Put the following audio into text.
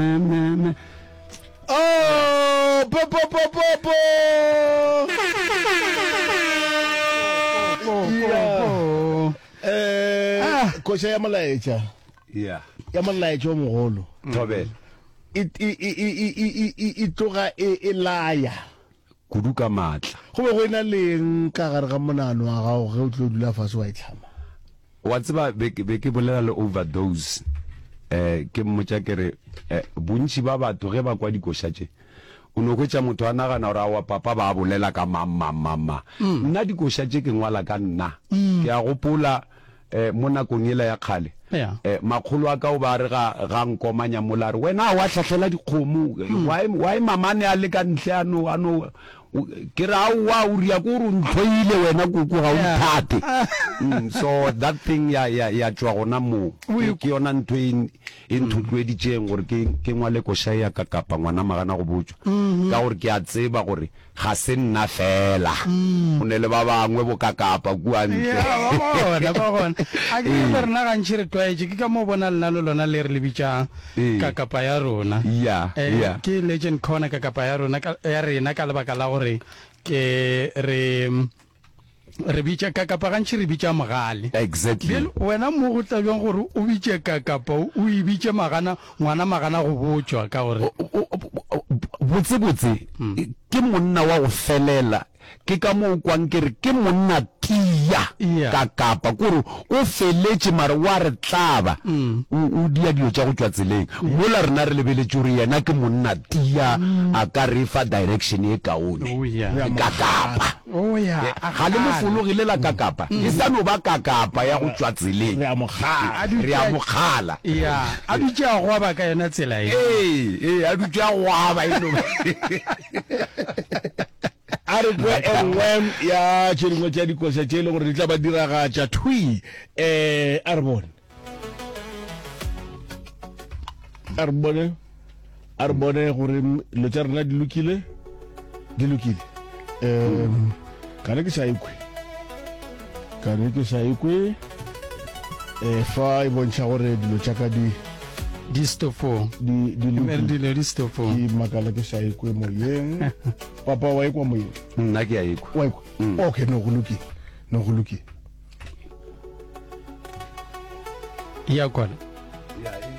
Me, me. Oh, po po po po po. Po, po, po. Eh, Ah. koša ya molaetša. Yeah. Ya molaetša o mogolo. Thobela. E e e e e e e tloga e e laya. Kudu ka maatla. Go be go ena le eng ka gare ga monagano wa gago ge o tlo dula fase wa e hlama? Wa tseba, be, be ke bolela le Overdose, eh, ke mmotša ke re, eh, bontši ba batho ge ba kwa dikoša tše, o no hwetša motho a nagana gore aowa papa ba bolela ka mang, mang, mang, mang. Nna dikoša tše ke ngwala ka nna. Ke a gopola, eh, mo nakong yela ya kgale, eh, makgolo a ka o ba a re ga, ga nkomanya mola a re, Wena wa hlahlela dikgomo, why, why mama a ne a le ka ntle a no, a no, Ke re aowa o ria ko gore o ntlhoile wena koko ga o nthate. Mm, so that thing ya ya ya tšwa gona moo. Ke ke yona ntho e e nthotloeditšeng gore ke ke ngwale koša ya ka kapa ngwana magana go botšwa. Ka gore ke a tseba gore ga se nna fela. Go ne le ba bangwe bo kakapa kua ntle. Ya, ba gona, ba gona. A ke re rena gantši re tlwaetše, ke ka moo bona lena le lona le re le bitšang. Kakapa ya rona. Ya, Eh, ya. Ke Legend Corner kakapa ya rona ka, ya rena ka lebaka la gore ke re re bitša kakapa gantši re bitša mogale. Exactly. Bjale wena mo go tla bjang gore o bitše kakapa o e bitše magana ngwana magana go botšwa ka gore Botse botse ke monna wa go felela Ke ka moo o kwang ke re ke monna tia ka kapa, ke gore o feletše mare o a re tlaba, o, o dia dilo tša go tšwa tseleng. Mola rena re lebeletše gore yena ke monna tia, a ka re fa direction ye kaone. Ka kapa. Ga le mo fologe le la ka kapa, e sa no ba ka kapa ya go tšwa tseleng. Re a mo kgala. Re a mo kgala. A dutše a gwaba ka yona tsela ye. Ee, ee, a dutše a gwaba e no. A re kwe e nngwe ya tše dingwe tša dikoša tše e leng gore di tla ba diragatša thwi. Um a re bone. A re bone. A re bone gore dilo tša rena di lokile. Di lokile. Um kane ke sa ikwe. Kane ke sa ikwe. Eh, fa e bontšha gore dilo tša ka di di stopong di di lokile. Dilo di stopong. Ke makala ke sa ikwe moyeng. Papa wa ikwa moyeng? Nna ke a ikwa. Wa ikwa? Mm. Okay, no go lokile. No go lokile. Ya kwana. Ya e.